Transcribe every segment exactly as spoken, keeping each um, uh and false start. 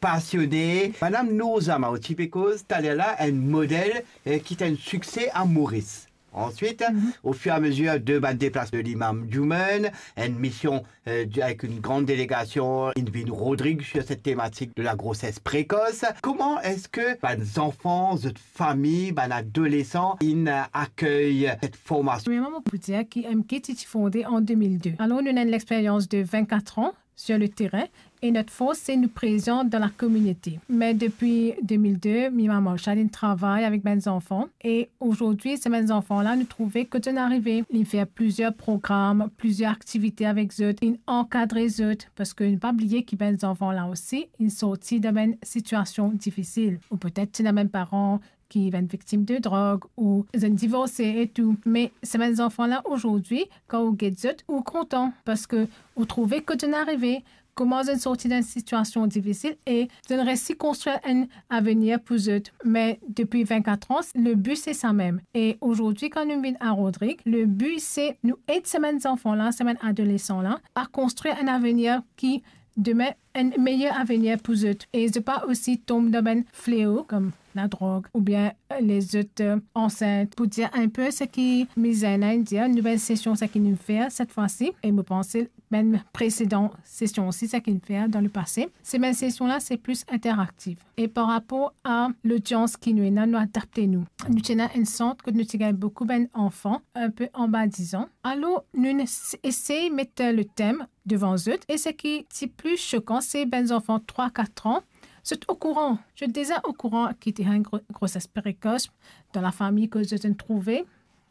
Pasione. Madam Nourzama, ou ti pe koz taler la, enn model, eh, ki ti enn sikse a Moris. Answit, ofiramezer de bann deplasman de Imam Juman, enn mision, eh, di-, avek enn gran delegasion, inn vinn Rodrig sur cette thématique de la grossesse précoce. Kouma eski bann zanfan, zot fami, bann adolesan inn, eh, akey set formasion? Premierman, mo pou dir ki M K ti, ti fonde an de mil de. Alor, nou ena enn lexperyans de vinn-kat an sur le terrain e not fors, se nou prezan dan lakominote. Me depi de mil de, Mima Marshall inn travay avek bann zanfan e azordi, se bann zanfan la, nou trouve kot zot inn arive. Li fer plizier program, plizier aktivite avek zot, inn ankadre zot, parski nou pa bliye ki bann zanfan la osi, inn sorti dan bann sitiasion difisil. Ou petet ti ena bann paran ki bann viktim de drog ou zot inn divorse e tou. Me se bann zanfan la azordi, kan ou get zot, ou kontan, parski ou trouve kot zot inn arive, kouma zot inn sorti dan enn sitiasion difisil e zot inn resi konstrir enn avenir pou zot. Me depi vinn-kat an, le bi se sa mem. E azordi, kan nou vinn a Rodrig, le bi se nou ed se bann zanfan la, se bann adolesan la, a konstrir enn avenir ki demin enn meyer avenir pou zot e zot pa osi tom dan bann fleo kom ladrog oubien, eh, lezot, eh, ansint. Pou dir enn pe seki Miss Zaina inn dir, nou bann sesion seki nou fer set fwa si, e mo panse bann presedan sesion osi seki nou fer dan lepase, se bann sesion la se plis interaktif. E par rapor a lodians ki nou ena, nou adapte nou. Nou ti ena enn sant kot nou ti gagn boukou bann anfan enn pe anba diz an. Alor, nou inn es-, esey met, eh, letem devan zot. E seki ti pli sokan, se bann zanfan trwa, kat an, zot okouran, zot deza okouran ki ti ena enn gro-, groses prekos dan lafami kot zot inn trouve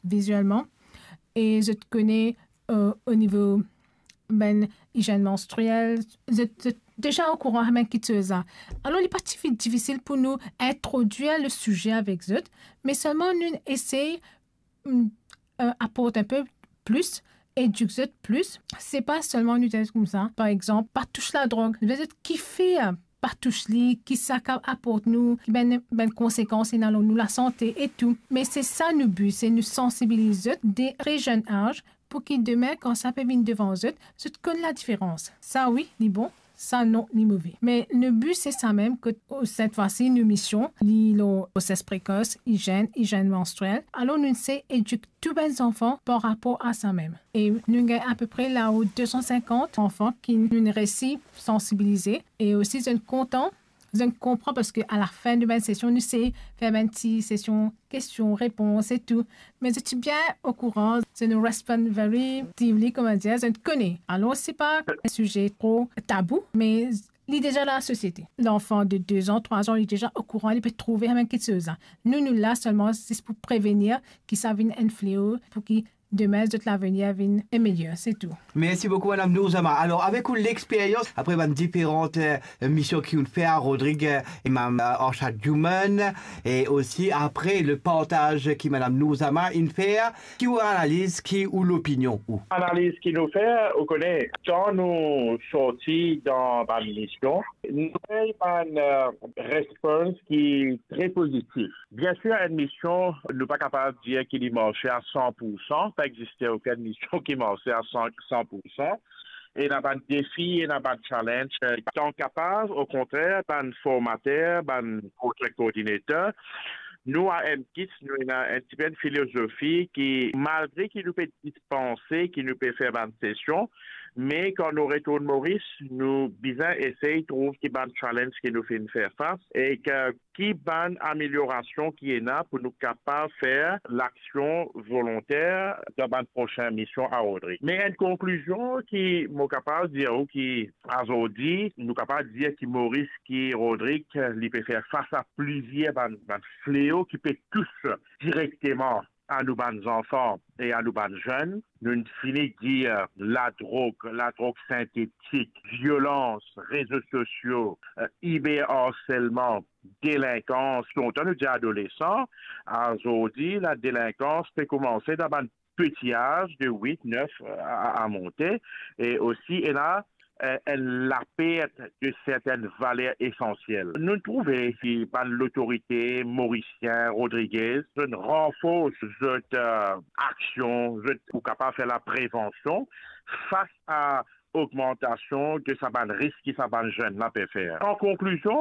vizielman, e zot kone, eh, o nivo bann izenn menstriel, zot, zot deza okouran bann kiksoz la. Alor, li pa ti difisil pou nou introdwir le size avek zot, me selman nou esey, mm, eh, aport enn pe plis, edik zot plis. Se pa selman nou dir koumsa, par exanp, pa tous ladrog. Nou dir zot kifer pa tous li, ki sa kav aport nou, ki bann, bann konsekans ena lor nou lasante e tou. Me se sa nou bi, se nou sansibiliz zot de tre zenn az, pou ki demin, kan sa pe vinn devan zot, zot konn ladiferans. Sa wi, li bon, sa non, li move. Me nou bi se sa mem, kot, o, set fwa si, nou mision, li lor groses prekos, izenn, izenn menstriel. Alor, nou esey edik tou bann zanfan par rapor a sa mem. E nou gagn apepre lao de san sinkant anfan ki nou resi sansibilize. E osi, zot inn kontan, zot inn konpran, parski a lafin de bann sesion, nou esey fer bann ti sesion kestion, repons e tou. Me zot ti bien okouran, zot inn respond very actively, kouma dir, zot inn kone. Alor, se pa enn size tro tabou, me li deza dan lasosiete. Lanfan de de zan, trwa zan, li deza okouran, li pe trouve sa mem kiksoz la. Nou, nou la selman zis pou prevenir ki sa vinn enn fleo, pou ki demin zot lavenir vinn meyer, se tou. Mersi boukou, Madam Nourzama. Alor, avek ou lexperyans, apre bann diferan, eh, mision ki ou'nn fer a Rodrig, eh, Imam, eh, Arshad Juman, e osi apre le partaz ki Madam Nourzama inn fer, ki ou analiz, ki ou lopinion ou? Analiz ki nou fer, ou kone, kan nou sorti dan bann mision, nou gagn bann, eh, respons ki tre pozitif. Biensir, enn mision, nou pa kapav dir ki li marse a san pou san, pa existe okenn mision ki marse a san, san pou san. Ena bann defi, ena bann challenge, eh, kan kapav, okontrer, bann formater, bann project coordinator, nou a M Kids, nou ena enn tipe enn filozofi ki, malgre ki nou pe dispanse, ki nou pe fer bann sesion, me kan nou retourn Moris, nou bizin esey trouv ki bann challenge ki nou finn fer fas, e ki ki bann ameliorasion ki ena pou nou kapav fer laksion volonter dan bann prosin mision a Rodrig. Me enn konklizion ki mo kapav dir ou ki azordi, nou kapav dir ki Moris ki Rodrig, li pe fer fas a plizier bann, bann fleo ki pe tous direkteman a nou bann zanfan e a nou bann zenn. Nou'nn fini dir ladrog, ladrog sintetik, violans, rezo sosio, eh, iber arselman, delinkans, lontan nou dir adolesan, azordi, ladelinkans pe koumanse dan bann peti az de wit, nef, eh, a, a, a monte, e osi ena, eh, enn lapert de sertenn valer esansiel. Nou trouve ki bann lotorite morisien, Rodriguez, zot ranfors zot, eh, aksion, zot pou kapav fer laprevansion fas a ogmantasion de sa bann risk ki sa bann zenn la pe fer. An konklizion,